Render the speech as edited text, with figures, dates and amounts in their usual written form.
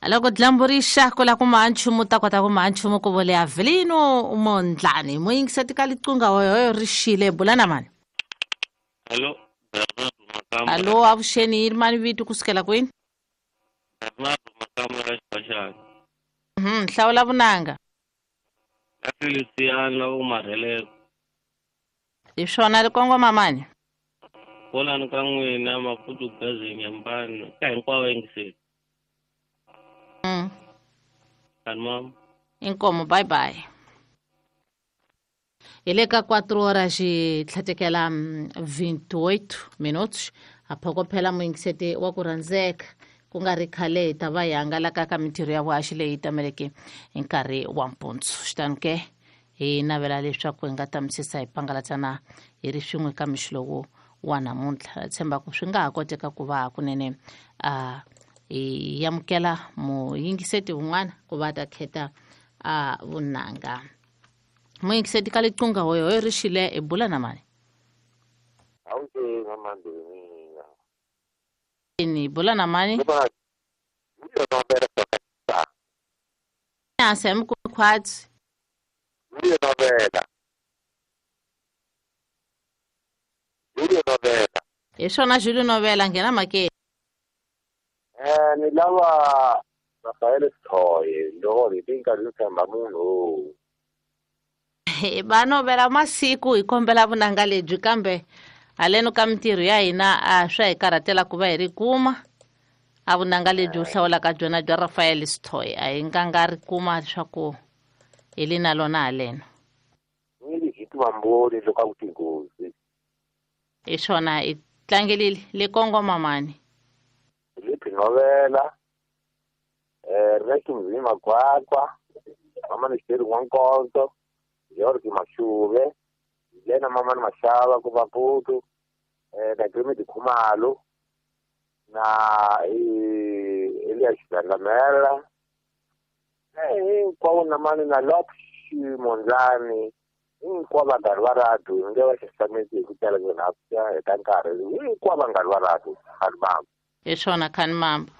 Loko dyambu ri xa ku la ku maha nchumu ta kota ku maha nchumu ku vole Avelino Mondlani muyingiseti ka liqunga hoyohoyo ri xile bula na mani. Hello, Bernardo Makamba. Alo, avuxeni, yi ri mani vito kusukela kwini? Bernardo Makamba ra Xibaxana. Hlawula vunanga. Na Feliciano u Marheleko. Hi swona ri kongoma mani? Vonani ka n'wina Maputo Gazi Nyambani ka hinkwavo yingiseli. Kani mama. Inkomo, bye bye. Hi le ka 4 horas xi tlhatekela 28 minutos. A phokophela muyingiseti wa ku rhandzeka ku nga ri khale hi ta va hi hangalaka ka mintirho ya vuhaxi leyi tameleke hi nkarhi wa mpundzu. Xitani ke hi navela leswaku hi nga tamisisa hi pangalatsana hi ri swin'we ka mixo lowu wa namuntlha. Tshemba ku swi nga ha koteka ku va hakunene a hi amukela muyingiseti wun'wana ku va ta khetha a vunanga. Muyingiseti ka liqunga hoyo hoyo ri xile hi bula na mani? Ni bula na mani? Hansi mi ku khwatsi. Hi swona Julio Novela nghena makeni. Ni lava Rafael Sithoye loko hi ti nkarhi yo tshemba munhu. Va novela masiku hi kombela vunanga lebyi kambe haleno ka mintirho ya hina a swa hi karhatela ku va hi ri kuma a vunanga lebyi u hlawulaka byona bya Rafael Sithoye a hi nga nga ri kuma leswaku hi li na lona haleno. Ni hi tivamboni loko a ku tinghozi. Hi swona hi tlangelile le kongoma mani. Filipe Novela, Ernesto Mzini Makwakwa, Mama Nixeri N'wankonzo, George Mashuve, Lena Mama Mashava ku Maputo, na Grimedi Khumalo, na Elias Gandamela, hinkwavo na mani na Lopsh Mondlani, hinkwavo vanghana va radio nge va xaxameti hi ku tala hi ta nkarhi, hinkwavo vanghana va radio khani mamba. Hi swona khani mamba.